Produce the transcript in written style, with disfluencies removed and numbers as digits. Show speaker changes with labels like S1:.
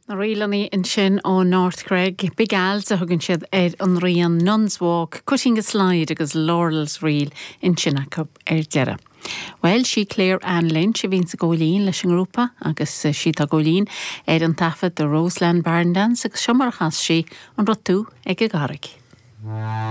S1: Na ríleanna ansin ó North Cregg, Big Al's a thugann siad ar an rian, Nuns Walk, Cutting a Slide agus Laurel's Reel ansin acu ar deireadh. Bhuel, sí Claire Ann Lynch a bhíonns ag gabháil fhoinn leis an ngrúpa agus sí atá ag gabháil fhoinn ar an taifead The Roseland Barn Dance agus seo mar a chas sí An Raibh Tú ag an gCarraig.